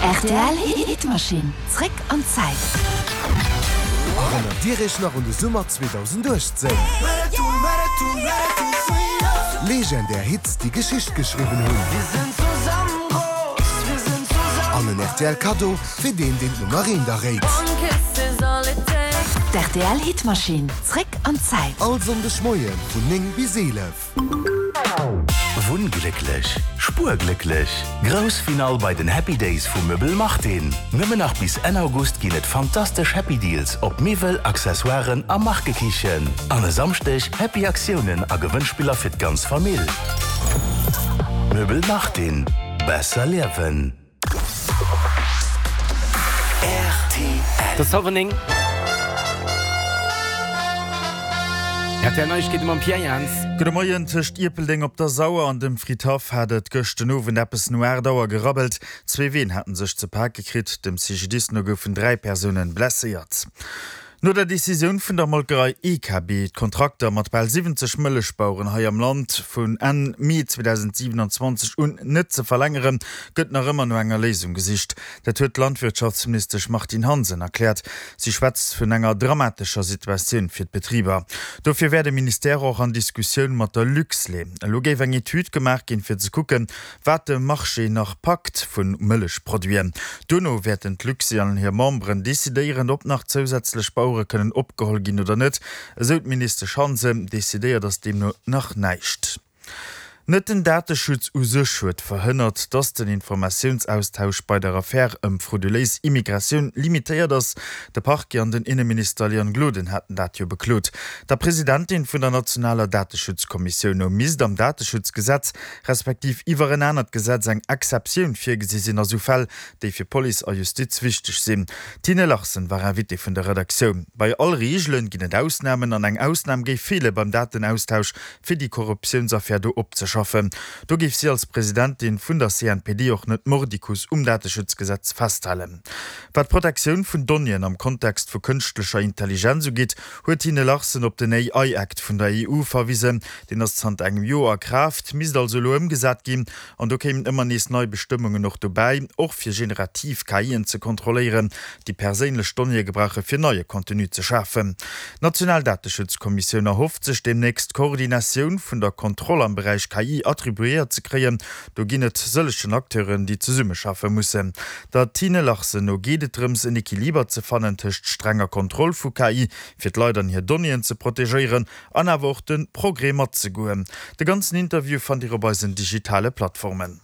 Rtl Hitmaschinn, zréck an d'Zäit. Erënnert Dir Iech nach un de Summer 2018? Legendär Hits, déi Geschicht geschriwwen hunn. An en rtl Kaddo fir deen, deen d'Nummer eent erréit. D'RTL Hitmaschinn, zréck an d'Zäit. All Sonndeg Moie vun 9 bis 11. Wunnglécklech, spuerglécklech, Grouss Finall bei den Happy Days vu Möbel Martin! Nëmmen nach bis Enn August ginn et fantastesch Happy Deals op Miwwel, Accessoiren a Markekichen. An e Samschdeg Happy Aktiounen a Gewënnspiller fir d'ganz Famill. Möbel Martin, besser liewen! Et ass hallwer 9. RTL Neiegkeete mam Pierre Jans. Gudde Moien. Tëscht Ierpeldeng op der Sauer an dem Fridhaff hat et gëscht den Owend eppes no 8 Auer gerabbelt. Zwee Ween haten sech ze pake kritt. Dem CGDIS no goufen 3 Persounen blesséiert. No der Decisioun vun der Molkerei EKB, d'Kontrakter mat bal 70 Mëllechbaueren hei am Land vun Enn Mee 2027 un net ze verlängeren, gëtt nach ëmmer no enger Léisung gesicht. Dat huet d'Landwirtschaftsministesch Martine Hansen erkläert. Si schwätzt vun enger dramatescher Situatioun fir d'Betriber. Dofir wär de Ministère och an Diskussioun mat der Luxlait. Elo géif eng Etüd gemaach ginn, fir ze kucken, wat de Marché nach packt vu Mëllechproduiten. Duerno wäerten d'Luxi an hir Memberen decidéieren, ob nach zousätzlech Bauere kënnen opgeholl ginn oder net, esou d'Ministesch Hansen. Decidéiert ass deemno nach näischt. Net den Dateschutz u sech huet verhënnert, datt den Informatiounsaustausch bei der Affär ëm frauduléis Immigratioun limitéiert ass. De Parquet an den Inneminister Leon Gloden haten dat jo beklot. Der Presidentin vun der nationaler Dateschutzkommissioun no misst am Dateschutzgesetz respektiv iwwer en anert Gesetz eng Exceptioun virgesi sinn a sou Fäll, déi fir Police a Justiz wichteg sinn. D'Tine Larsen war Invitée vun der Redaktioun. Bei all Reegele ginn et Ausnamen an eng Ausnam géif feele beim Datenaustausch, fir déi Korruptiounsaffär do opzeschaffen. Do géif si als Presidentin vun der CNPD och net mordicus um Dateschutzgesetz festhalen. Wat d'Protektioun vun Donnéeën am Kontext vu kënschtlecher Intelligenz ugeet, huet d'Tine Larsen op den AI Act vun der EU verwisen. Deen ass zanter engem Joer a Kraaft, misst also elo ëmgesat ginn. An do kéimen ëmmer nees nei Bestëmmungen och dobäi, och fir generativ KIen ze kontrolléieren, déi perséinlech Donnéeë gebrauche fir neie Contenu ze schafen. D'national Dateschutzkommissioun erhofft sech deemnächst d'Koordinatioun vun der Kontroll am Beräich KI attribuéiert ze kréien. Do ginn et sëllegen Acteuren, déi zesummeschaffe mussen. Der Tine Larsen no geet et drëms, en Equiliber ze fannen tëscht strenger Kontroll vu KI, fir d'Leit an hir Donnéeën ze protegéieren, an awer och de Progrès matzegoen. De ganzen Interview fannt Dir op eisen digitale Plattformen.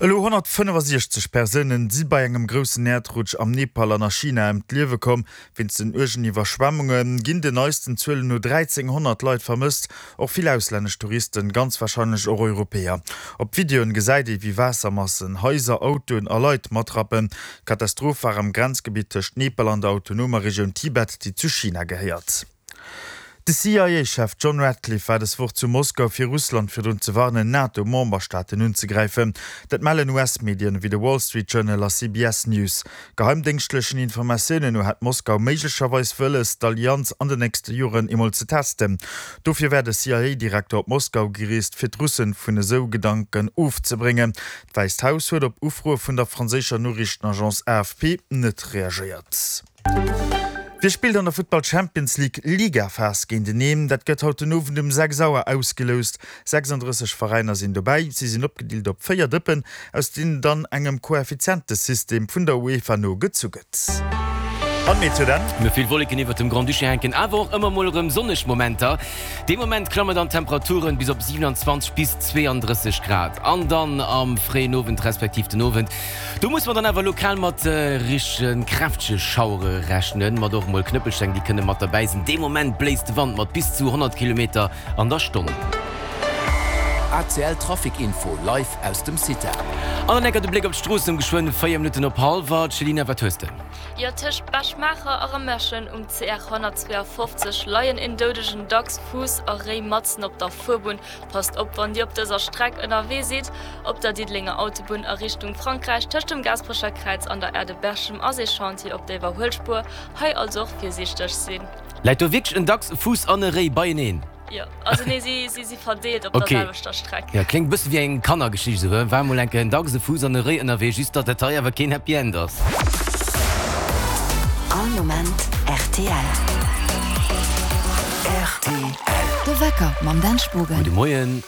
Elo 165 Persounen si bei engem groussen Äerdrutsch am Nepal an a China ëm d'Liewe komm. Wéinst den uergen Iwwerschwemmunge ginn den neisten Zuelen no 1.300 Leit vermësst, och vill auslännesch Touristen, ganz warscheinlech och Europäer. Op Videoen gesäit ee wéi Waassermassen Haiser, Autoen a Leit matrappen. D'Katastroph war am Grenzgebitt tëscht Nepal an der autonomer Regioun Tibet, déi zu China gehéiert. De CIA-Chef John Ratcliffe war des Woch zu Moskau, fir Russland virdrun ze warnen, NATO-Memberstaaten unzegräifen. Dat mellen US-Medien ewéi de Wall Street Journal a CBS News. Geheimdéngschtlechen Informatiounen no hätt Moskau méiglecherweis wëlles, d'Allianz an den nächste Joren eemol ze testen. Dofir wär de CIA-Direkter op Moskau gereest, fir d'Russen vun esou Gedanken ofzebréngen. D'Wäisst Haus huet op Ufroe vun der franséischer Noriichtenagence AFP net reagéiert. Wie spillt an der Futtball Champions League Ligaphas géinteneen? Dat gëtt haut den Owend um 6 Auer ausgeloust. 36 Veräiner sinn dobäi. Si sinn opgedeelt op 4 Dëppen, aus deenen dann engem Koeffizientesystem vun der UEFA no gezu gëtt. An d'Meteo dann? Mir vill Wolleken iwwert dem Grand-Duché hänken awer och ëmmer mol erëm sonneg Momenter. Dee Moment klammen dann d'Temperaturen bis op 27 bis 32 Grad. An dann am fréien Owend respektiv den Owend, do musse mer dann awer lokal mat richtege kräftege Schauere rechnen, mat och mol Knëppelsteng, déi kënne mat derbäi sinn. Dee Moment bléist de Wand mat bis zu 100 Kilometer an der Stonn. ACL Trafic Info live aus dem CITA. An dann enker de Bléck op d'Stroossen um geschwënn 4 Minutten op hallwer. Céline, wat hues de? Jo, tëscht Bech-Maacher a Remerschen um CR 152 leien een doudegen Dachs, Fuuss a Réi matzen op der Fuerbunn. Passt op wann Dir op dëser Streck ënnerwee sidd. Op der Diddelenger Autobunn a Richtung Frankräich tëscht dem Gaasperecher Kräiz an der Aire de Berchem ass ee Chantier op der Iwwerhuelspuer. Hei also och virsiichteg sinn. Läit do wierklech en Dachs, e Fuuss an e Réi beieneen? Jo, also nee, si, si si verdeelt op der Okay. selwechter Streck. Ja, kléngt e bësse wéi eng Kannergeschicht esou, he? War mol eng Kéier en Dachs, e Fuuss an e Réi ënnerwee, just datt dat hei awer keen Happy End ass. All Moment rtl. Rtl. De Wecker mam Dan Spogen. Gudde Moien.